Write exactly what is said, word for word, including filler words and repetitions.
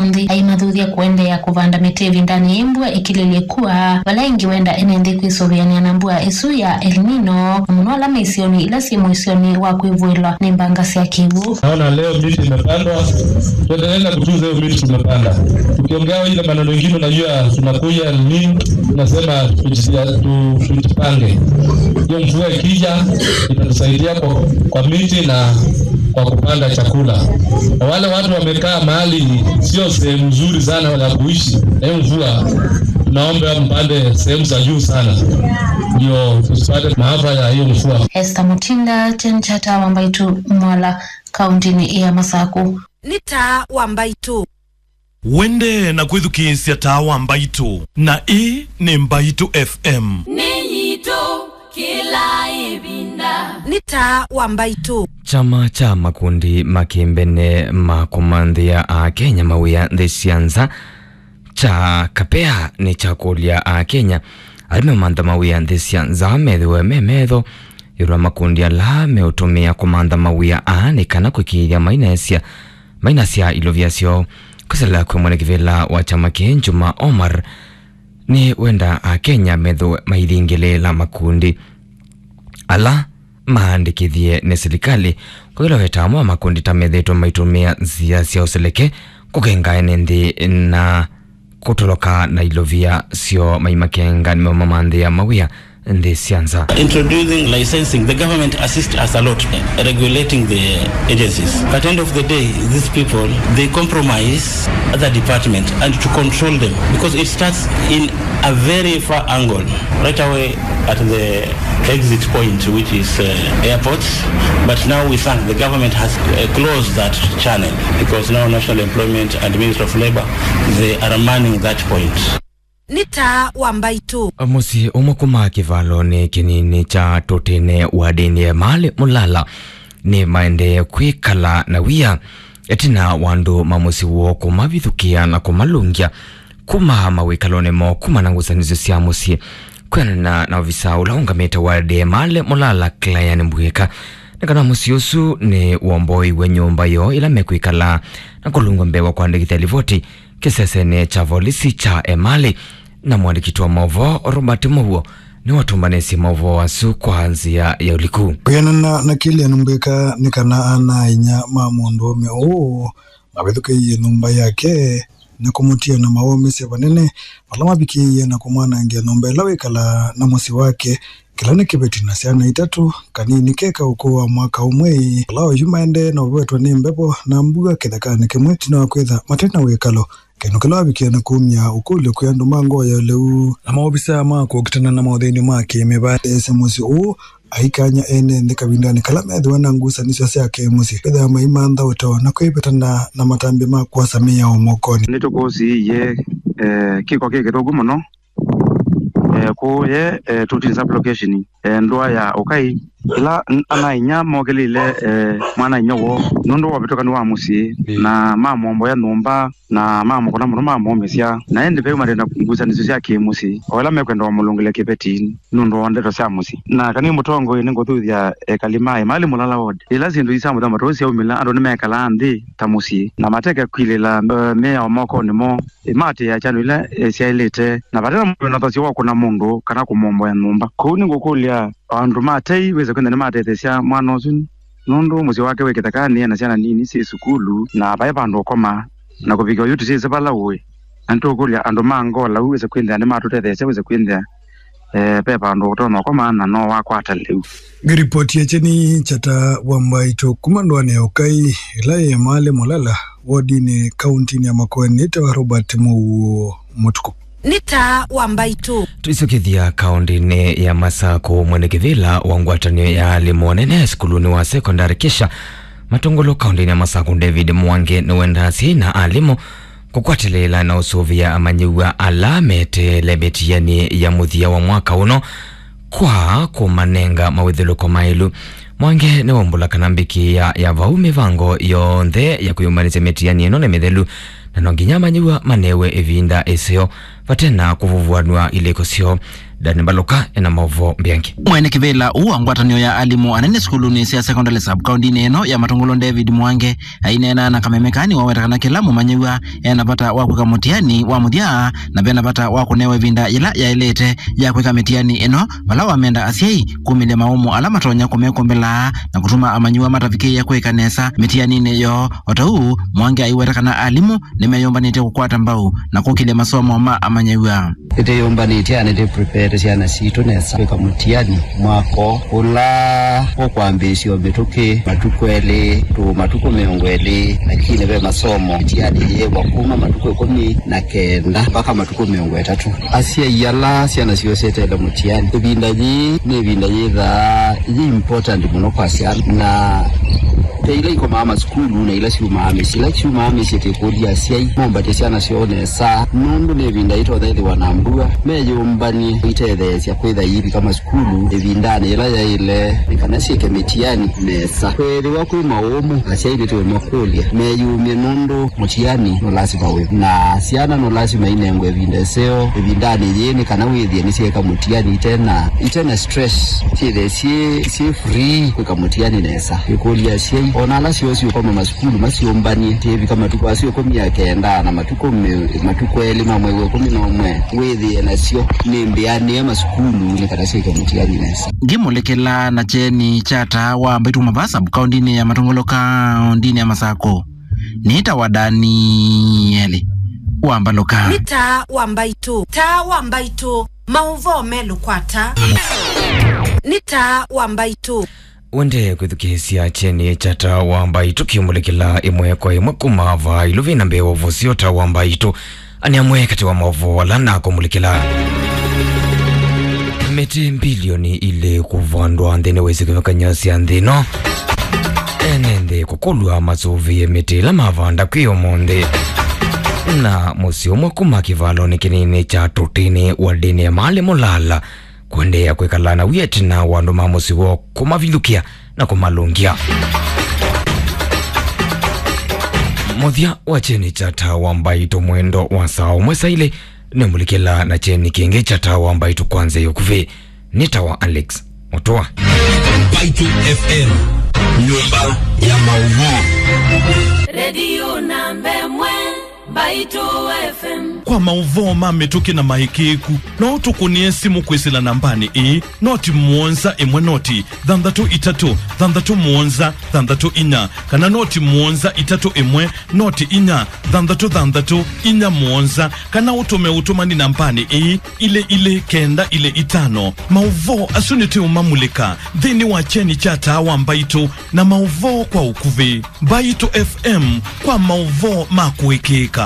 nthĩ aimathuthya kũendeea kũvanda mĩtĩ ĩvindanĩ yĩ mbua ĩkilĩlye kua, vala ĩngĩ wenda ene nthĩ kwĩsũvĩanĩa na mbua ĩsu ya El Nino, na mũno ala me isionĩ ila syĩ mũisyonĩ wa kwĩvũĩlwa nĩ mbanga sya kĩw'ũ. Naona leo miti imepandwa, tuendelee na kutunza hiyo miti tumepanda. Tukiongea ile maneno ingine, unajua tunakuja El Nino, tunasema tujia- tu- tujipange. Hiyo mvua ikija, itatusaidia kwa, kwa miti na kwa kupanda chakula. Na wale watu wamekaa mahali sio sehemu nzuri sana ya kuishi, na hiyo mvua, tunaomba mpande sehemu za juu sana, ndio tusipate maafa ya hiyo mvua. Esther Mutinda, Jen Chata wa Mbaitu, Mwala, kauntinĩ ya Masaku. Nĩ Taa wa Mbaitũ. Wendee na kwĩthukĩĩsya Taa wa Mbaitũ, na ĩĩ nĩ Mbaitũ F M. Nĩ yitũ kĩla ĩvinda. Nĩ Taa wa Mbaitũ. Kyama kya makundi ma kĩmbene ma kũmanthĩa Akenya mawĩa nthĩ sya nza kya Kapea nĩkyakũlya Akenya ala meũmantha mawĩa nthĩ sya nza methĩwe me metho ĩũlũ wa makundi ala meũtũmĩa kũmantha mawĩa aa nĩ kana kũĩkĩĩthya mainaesya mainasya ilovya syoo. Kwĩsĩla kwĩ mwene kĩvĩla wa kyama kĩĩ, Juma Omar, nĩwenda Akenya methĩwe mailingĩlĩĩla makundi ala maandĩkĩthye nĩ silikalĩ, kwa ĩla weta amwe wa makundi ta methĩĩtwe maitũmĩa nzĩa sya ũseleke kũkenga ene nthĩ na kũtoloka na ilovia syoo maimakenga nĩmo mamanthĩa mawĩa nthĩ sya nza. Introducing licensing, the government assist us a lot, eh, regulating the agencies. But end of the day, these people, they compromise other department and to control them, because it starts in a very far angle, right away at the exit point, which is, uh, airports. But now we thank the government has, uh, closed that channel, because now National Employment and Ministry of Labor, they are manning that point. Nĩ Taa wa Mbaitũ. Mũsyĩ ũmwe kuma kĩvalonĩ kĩnini kya Tũtĩnĩ wadĩnĩ Emali Mũlala nĩ maendee kwĩkala na wia ĩtina wa andũ ma mũsyĩ woo kũmavithũkĩa na kũmalũngya kuma mawĩkalonĩ moo kuma na ngusanĩsyo sya mũsyĩ. Kwĩanana na ovisa ũla ũngamĩte wadĩ Emali Mũlala, Clan Mbwĩka, nĩ kana mũsyĩ ũsu nĩ womboiwe nyũmba yoo ĩla mekwĩkala na kũlũngwa mbee wa kwandĩkĩthya livoti kĩsesenĩ kya volisi kya Emali, na mũandĩki wa maũvoo Robert Mũuo nĩwatũmbanĩsye maũvoo asu kwa nzĩa ya ũliku. Kwĩanana na Clan Mbwĩka, nĩ kana ana-a-inyia ma mũndũũme ũũ mavĩthũkĩie nyũmba yake na kũmũtia na mawaumisye vanene, vala mavikĩie na kũmwanangĩa nyũmba ĩla wĩkalaa na mũsyĩ wake, kĩla nĩ kĩveti na syana itatũ, kanini ke ka ũkũũ wa mwaka ũmwe, vala oyu maendee na ũvetwa nĩ mbevo na mbua kĩthekanĩ kĩmwe, ĩtina wa kwĩtha matarĩ na wĩkalo, kĩndũ kĩla wavikie na kumya ũkũlyo kwĩ andũ ma ngoo ya ũleu. Na maovisaa ma kũkitana na maũthĩny'o ma kĩmĩvaĩ, ese mũsyĩ ũũ aikany'a ene nthĩ kavindanĩ kala methĩwa na ngusanĩsyo sya kĩmũsyĩ, kwĩthĩwa maimantha ũtao na kwĩvetana na matambya ma kwosa mĩao mokonĩ. Nĩtũkũsiĩie, eh, kĩko kĩ kĩthũku mũno, eh, kũũ ye, eh, Tũtĩnĩ sub-location, eh, ndũa ya Ũkai, ĩla n- ana-a-inyia mokĩlĩle, eh, mwana-a-inyia woo nũndũ wa ũvĩtũkanu wa mũsyĩ, na mamwomboya nyũmba, na mamũkũna mũno, mamũũmĩsya. Na ĩndĩ ve mathĩna ngusanĩsyo sya kĩmũsyĩ, o ĩla mekwenda wamũlũngĩle kĩveti nũndũ wa ndeto sya mũsyĩ. Na kana nĩ mũtongoi, nĩngũthuthya ekali ma Emali Mũlala ward. Ĩla syĩndũ ii sya mũthemba ta ũũ syaumĩla, andũ nĩmekalaa nthĩ ta mũsyĩ, na mateke kwilĩla, eh, mĩao mokonĩ moo, ĩmatĩĩa kyano ila, eh, syaĩlĩte, na vate na mũvĩno thasyo wa kũna mũndũ kana kũmwomboya nyũmba. Kwoou nĩngũkũlya andũ ma tei wĩse kwĩthĩa nĩmatetheesya mwana ũsu, nũndũ mũsyĩ wake wĩ kĩthekanĩ, ena syana nini syĩ sukulu, na vai vandũ ũkoma, na kũvikĩa oyu tũsyĩsĩ vala ũĩ. Na nĩtũkũlya andũ ma ngoo lau wĩse kwĩthĩa nĩmatũtetheesya, wĩse kwĩthĩa, eh, ve vandũ ũtonya ũkoma na no wakwata lĩu. Ripoti ya Kyeni Kyata wa Mbaitũ kuma ndũanĩ ya Ũkai, ĩla yĩ Emali Mũlala, wodinĩ, kauntinĩ ya Makueni, nĩtawa Robert Mũuo Mũtuku. Nĩ Taa wa Mbaitũ. Tũisũkĩthya kaũndĩnĩ ya Masakũ, mwene kĩvĩla wa ngwatanĩo ya alimũ anene sukulunĩ wa sekondalĩ Kisha Matungulu kaũndĩnĩ ya Masakũ, David Mwangi, nĩwendaa asyai na alimũ kũkwatĩlĩĩla na ũsũvĩa amanyĩw'a ala meteele mĩtiani ya mũthya wa mwaka ũno kwa kũmanenga mawĩthũlũko maĩlu. Mwangi nĩwaumbũla kana mbĩkĩĩa ya vau mĩvango yonthe ya kwĩyũmbanĩsya mĩtiani ĩno nĩ mĩthelu, na no nginya amanyĩw'a manewe ĩvinda ĩseo vate na kũvuvuanw'a ilĩko syoo. Dani Mbaluka ena maũvoo mbeange. Mwene kĩvĩla ũũ wa ngwatanĩo ya alimũ anene sukulunĩ sya sekondalĩ sub kaũndinĩ ĩno ya Matũngũlũ, David Mwange, aineena na kameme kanini waweta kana kĩla mũmanyĩw'a ena vata wa kwĩka mũtiani wa mũthya, na vena vata wa kũnewa ĩvinda yĩla yaĩlĩte ya kwĩka mĩtiani ĩno, vala wamenda asyai kumĩlya maũmũ ala matonya kũmekũmbĩla na kũtuma amanyĩw'a matavikĩĩa kwĩka nesa mĩtianinĩ yoo. O ta ũu, Mwangi aiweta kana alimũ nĩmeyũmbanĩtye kũkwata mbau na kũkĩlya masomo ma amanyĩw'a. Nĩtwĩyũmbanĩtye na nĩtwĩprepaĩte syana sitũ nesa kwĩka mũtiani mwaka ũla ũkwambĩĩsya o mĩtũkĩ matukũ elĩ, tũ matukũ mĩongo ĩlĩ, lakini ve masomo mĩtiani yĩĩwa kuma matukũ ĩkũmi na kenda mpaka matukũ mĩongo ĩtatũ. Asyai ala syana syoo syeteele mũtiani, ĩvinda yĩĩ nĩ ĩvinda yĩthaa yĩ important mũno kwa syana, na ve ila ikomaa masukulu na ila syumaa mĩsyĩ. Ila syumaa mĩsyĩ, twĩkũlya asyai mombatye syana syoo nesa, nũndũ nĩ ĩvinda ĩtonya ĩthĩwa na mbua, meyũmbany'e itetheesya kwĩtha iivika masukulu ĩvindanĩ yĩla yaĩle, nĩ kana syĩke mĩtiani nesa. Kwĩthĩwa kwĩ maũmũ, asyai nĩtũũmakũlya meyumye, nũndũ mũtiani no lasima wĩ, na syana no lasima inengwe ĩvinda ĩseo ĩvindanĩ yĩĩ, nĩ kana wĩthĩe nĩsyeeka mũtiani itena, itena stress, syĩthĩe syĩ, syĩ free kwĩka mũtiani nesa. Ĩkũlya asyai, o na ala syoo syũkoma masukulu, masyũmbany'e, syĩvika matukũ asu ĩkũmi na kenda na matukũ mĩ-, matukũ elĩ ma mwei wa ĩkũmi na ũmwe, wĩthĩe nasyo nĩ mbĩanĩe masukulu nĩ kana syĩke mũtiani nesa. Ngĩmũlĩkĩla na kyeni kya Taa wa Mbaitũ kuma vaa sub kaũndinĩ ya Matũngũlũ kaũndinĩ ya Masakũ, nĩtawa Danieli wa Mbaluka. Nĩ Taa wa Mbaitũ, Taa wa Mbaitũ, maũvoo melũ kwa Taa. Nĩ Taa wa Mbaitũ. Wendee kwĩthukĩĩsya kyeni kya Taa wa Mbaitũ kĩũmũlĩkĩla ĩmwe kwa ĩmwe kuma vaa ĩluvi na mbee wa ũvosyo. Taa wa Mbaitũ nĩ amwe katĩ wa maũvoo ala nakũmũlĩkĩla. Mĩtĩ mbilioni ilĩ kũvandwa nthĩnĩ wa isio kĩvathũkany'o sya nthĩ ĩno. Ene nthĩ kũkũlw'a masũvĩe mĩtĩ ĩla mavanda kwĩ ũmũnthĩ. Na mũsyĩ ũmwe kuma kĩvalonĩ kĩnini kya Tũtĩnĩ wa ndĩni ya Maalim Ulala kũendeea kwĩkala na wia ĩtina wa andũ ma mũsyĩ woo kũmavilũkĩa na kũmalũngĩa. Mũthya wa kyeni kya Taa wa Mbaitũ mwendo wa saa ũmwe saa ilĩ, nĩmũlĩkĩla na kyeni kĩngĩ kya Taa wa Mbaitũ kwa nzĩa ya ũkuvĩ. Nĩ Taa wa Alex Mũtũa. Mbaitũ F M, nyũmba ya maũvoo. Redio namba ĩmwe. Mbaitũ F M. Kwa maũvoo ma mĩtũkĩ na maĩkĩĩku, no ũtũkũnĩe simũ kwĩsĩla nambanĩ ĩĩ, noti mũonza ĩmwe noti thanthatũ itatũ thanthatũ mũonza thanthatũ inya, kana noti mũonza itatũ ĩmwe noti inya thanthatũ thanthatũ inya mũonza, kana ũtũme ũtũmani nambanĩ ĩĩ, ilĩ ilĩ kenda ilĩ itano. Maũvoo asu nĩtũũmamulĩka nthĩnĩ wa kyeni kya Taa wa Mbaitũ na maũvoo kwa ũkuvĩ. Mbaitũ F M kwa maũvoo ma kũĩkĩĩka.